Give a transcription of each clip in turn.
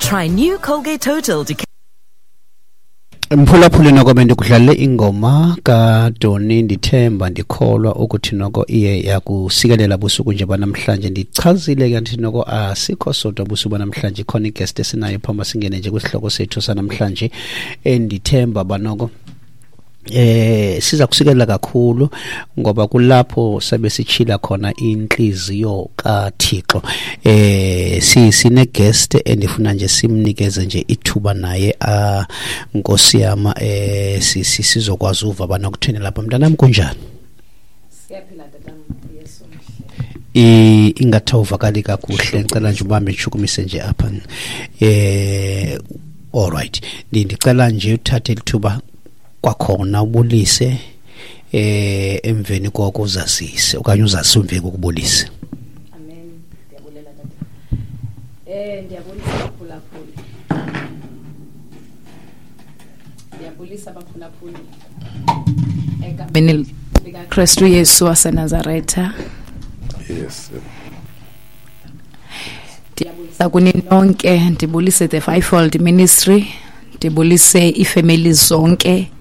Try new Colgate Total Decay. Mphulaphuli, noko bendikudlalele ingoma kaDoni Ndithemba Ndikholwa ukuthi noko iye yakusikelela busuku nje banamhlanje. Ndichazile ke ndithi noko asikho sodwa busuku banamhlanje, ikhona iguest esinayo phambi singene nje kwisihloko sethu sanamhlanje endithemba banoko siza kusikelela kakhulu ngoba kulapho sabe sichila khona inhliziyo kaThixo. Si sine guest endifuna nje simnikeze nje ithuba naye, a Nkosi yama, sizokwazi uva bana kutheni lapha. Mntanami, kunjani? Siyaphila, tata. Yesu mhle. Ingathi awuvakali kakuhle, ngicela nje ubambe, ntshukumise nje apha. All right, ndicela nje uthathe lithuba kwakhona ubulise, emveni koko uzazise okanye uzazise emveni kokubulise. Amen, ndiyabulela, tata. Ndiyabulisa abaphulaphuli, ndiyabulisa abaphulaphuli egameni likaKristu Yesu waseNazaretha. Ndiyabulisa kuni nonke, ndibulise the Fivefold Ministry, ndibulise iifemeli zonke,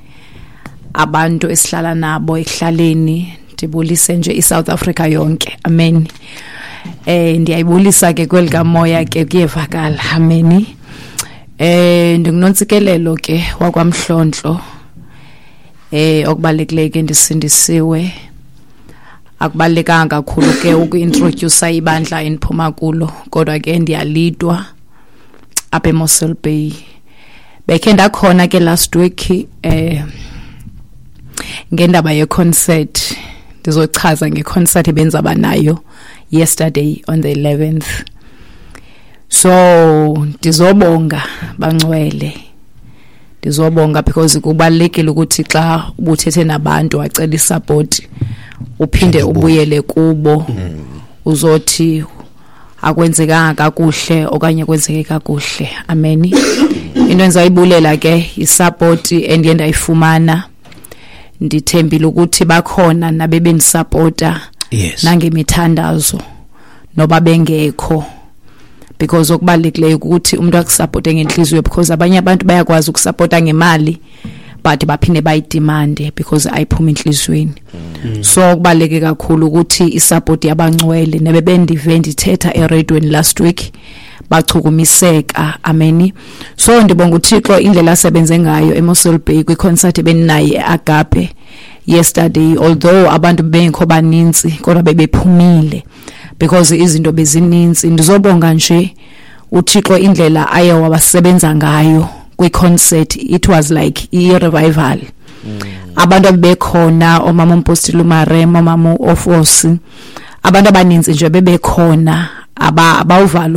abantu esihlala nabo ekuhlaleni, ndibulise nje iSouth Africa yonke. Amen. Ndiyayibulisa ke kweli kamoya ke, kuyevakala. Amen. Ndingunontsikelelo ke wakwaMhlontlo. Okubalulekileyo ke, ndisindisiwe. Akubalulekanga kakhulu ke ukuintroduce ibandla endiphuma kulo, kodwa ke ndiyalidwa apha eMossel Bay. Bekhe ndakhona ke last week ngendaba ye-concert. Ndizochaza nge-concert ebenzaba nayo yesterday on the 11th. So ndizobonga, bangcwele, ndizobonga because kubalulekile ukuthi xa ubuthethe nabantu wacela isupport, uphinde ubuyele kubo uzothi akwenzekanga kakuhle okanye kwenzeke kakuhle. Amen. Into endizayibulela ke isupport endiye ndayifumana. Ndithembile ukuthi bakhona nabebendisapota nangemithandazo noba bengekho, because okubalulekileyo ukuthi umuntu akusapote ngenhliziyo, because abanye abantu bayakwazi ukusapota ngemali but baphinde bayidemande because ayiphuma enhliziyweni. So kubaluleke kakhulu ukuthi isupport yabangcwele nebebendive ndithetha eradweni last week bachukumiseka. Amen. So ndibonga uThixo indlela asebenze ngayo eMossel Bay kwiconcert ebendinayo eAgape yesterday. Although abantu bengekho baninzi, kodwa bebephumile because izinto bezininzi. Ndizobonga nje uThixo indlela aye wabasebenza ngayo kwi-concert. It was like i-revival. Abantu abebekhona, omama umpostile uMarem, omama uOfosi, abantu abaninzi nje bebekhona, abawuvala.